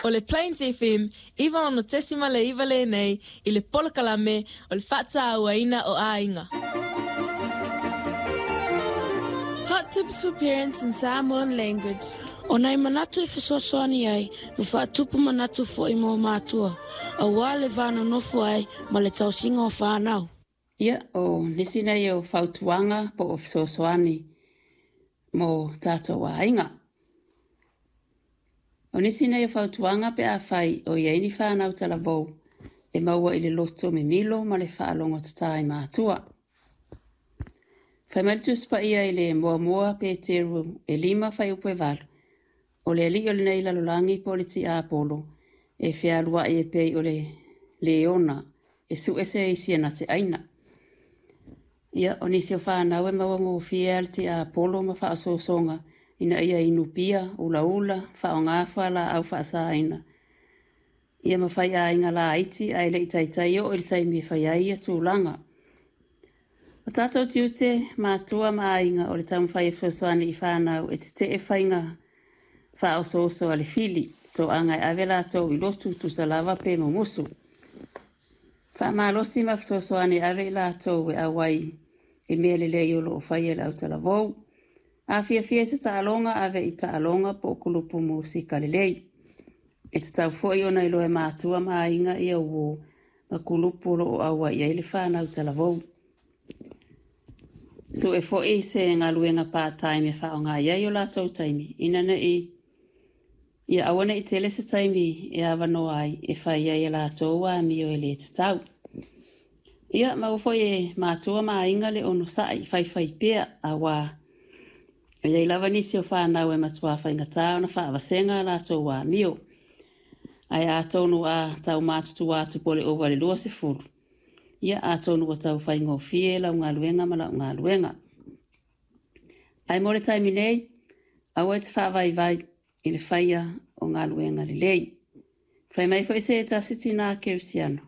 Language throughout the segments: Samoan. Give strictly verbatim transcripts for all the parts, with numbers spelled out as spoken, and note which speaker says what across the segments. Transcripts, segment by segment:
Speaker 1: O le Plains F M iva ono tesima le iva lenei i le polokalame o le faatauaina o aiga.
Speaker 2: Hot tips for parents in Samoan language.
Speaker 3: O nai manatu e fesoasoani ai ma faatupu manatu foi mo matua, auā le va nonofo ai ma le tausiga o fanau.
Speaker 4: Ia, o nisi nei o fautuaga po o fesoasoani mo tatou aiga. O nisi nei o fautuaga pe afai o i ai ni fanau talavou e maua i le loto mimilo ma le faalogo tatā i matua. Fai mai le Tusi Paia i le Muamua Peteru e lima fuaiupu e valu, o le alii o lenei lalolagi po o le tiapolo e fealuai e pei o le leona e sue se isi e na te aina. Ia, o nisi o fanau e maua gofie a le tiapolo ma faaosoosoga ina ia inu pia, ulaula, faaaogā fualaau faasaina. Ia ma faiaiga laiti ae le i taitai oo i le taimi e fai ai ia tulaga. O tatou tiute matua ma aiga o le taumafai e fesoasoani i fanau e tetee faiga faaosooso a le fili, toaga e ave latou i lotu tusa lava pe mumusu. Faamalosi ma fesoasoani e ave i latou e auai i mea lelei o lo o faia e le autalavou. A fiafia i se taaloga, ave i taaloga po o kulupu musika lelei. E tatau foi ona iloa e matua ma aiga ia uō ma kulupu o lo o auai ai le fanau talavou. Sue foi se galuega part-time e faaaoga i ai o latou taimi, ina nei ia aua ne i tele se taimi e avanoa ai e fai ai e latou amio e le tatau. Ia, maua foi e matua ma aiga le onosai faifai pea auā e i ai lava nisi o fanau e matuā faigata ona faavasega a latou amio. Ae atonu a tau matutua atu po o le ova i le luasefulu, ia atonu ua tau faigofie lau galuega ma lau galuega. Ae mo le taimi nei, aua e te faavaivai i le faia o galuega lelei. Fai mai foi se tasi tinā kerisiano,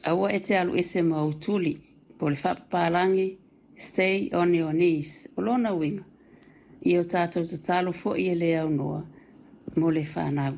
Speaker 4: aua e te alu ese ma ou tuli, po o le faapapalagi, "Stay on your knees." O lona uiga, ia o tatou tatalo foi e le aunoa mo le fanau.